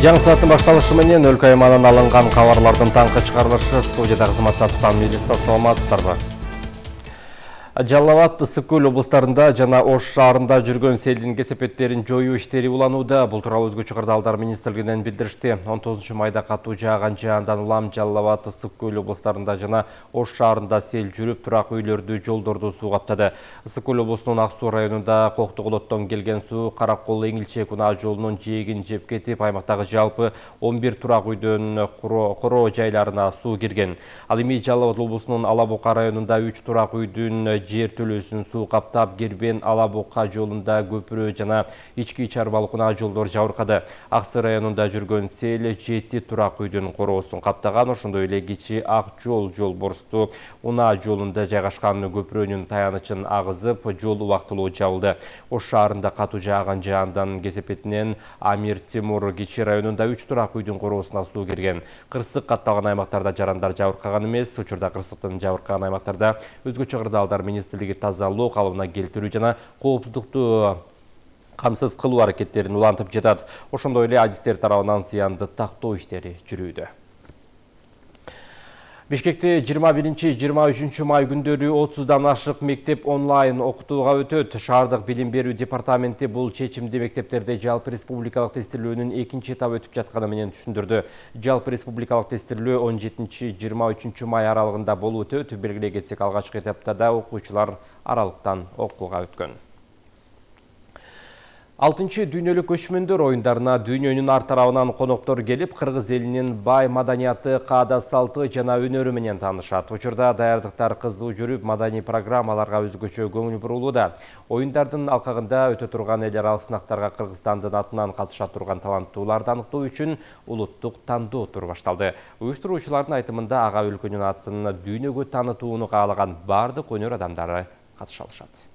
Жаңы сааттын башталышы менен өлкө аймагынан алынган кабарлардын таңкы чыгарылышы студияда кызматта Тутан Мелисов, саламатсыздарбы? Жалал Абад, Ысык Көл облустарында жана Ош шаарында жүргөн селдин кесепеттерин жоюу иштери уланууда. Бул тууралуу Өзгөчө кырдаалдар министрлигинен билдиришти. 19 майда катуу жааган жаандан улам Жалал Абад, Ысык Көл облустарында жана Ош шаарында сел жүрүп, турак үйлөрдү, жолдорду суу каптады. Ысык Көл облусунун Ак Суу районунда Коктогулоттон келген суу Каракол Эңилчек унаа жолунун жээгин жеп кетип, аймактагы жалпы 11 турак үйдөн короо жайларына суу кирген. Ал эми Жалал Абад облусунун Ала Бука районунда 3 турак үйдүн жер төлөөсүн суу каптап, Кербен Ала Бука жолунда көпүрө жана ички чарбалык унаа жолдор жабыркады. Ак Суу районунда жүргөн сел 7 турак үйдүн короосун каптаган. Ошондой эле Кичи Ак жол борсту унаа жолунда жайгашкан көпүрөнүн таянычын агызып, жол убактылуу жабылды. Ош шаарында катуу жааган жаандан кесепетинен Амир Темур Кичи районунда 3 турак үйдүн короосуна суу кирген. Кырсык катталган аймактарда жарандар жабыркаган эмес. Учурда кырсыктын жабыркаган аймактарда Өзгөчө кырдаалдар министрлиги тазалоо калыбына келтирүү жана коопсуздукту камсыз кылуу аракеттерин улантып жатат. Ошондой эле адистер тарабынан зыянды тактоо иштери жүрүүдө. Бишкекте 21-23 май күндөрү 30дан ашык мектеп онлайн окутууга өтөт. Шаардык билим берүү департаменти бул чечимди мектептерде жалпы республикалык тестилөөнүн экинчи этабы өтүп жатканы менен түшүндүрдү. Жалпы республикалык тестилөө 17-23 май аралыгында болуп өтөт. Белгилей кетсек, алгачкы этапта да окуучулар аралыктан окууга өткөн. 6-чы дүйнөлүк көчмөндөр оюндарына дүйнөнүн ар тарабынан коноктор келип, кыргыз элинин бай маданияты, каада салты жана өнөрү менен таанышат. Учурда даярдыктар кызуу жүрүп, маданий программаларга өзгөчө көңүл бурулууда. Оюндардын алкагында өтө турган эл аралык сынактарга Кыргызстандын атынан катыша турган таланттууларды аныктоо үчүн улуттук тандоо туру башталды. Уюштуруучулардын айтымында ага өлкөнүн атын дүйнөгө таанытууну каалаган бардык өнөр адамдары катыша алышат.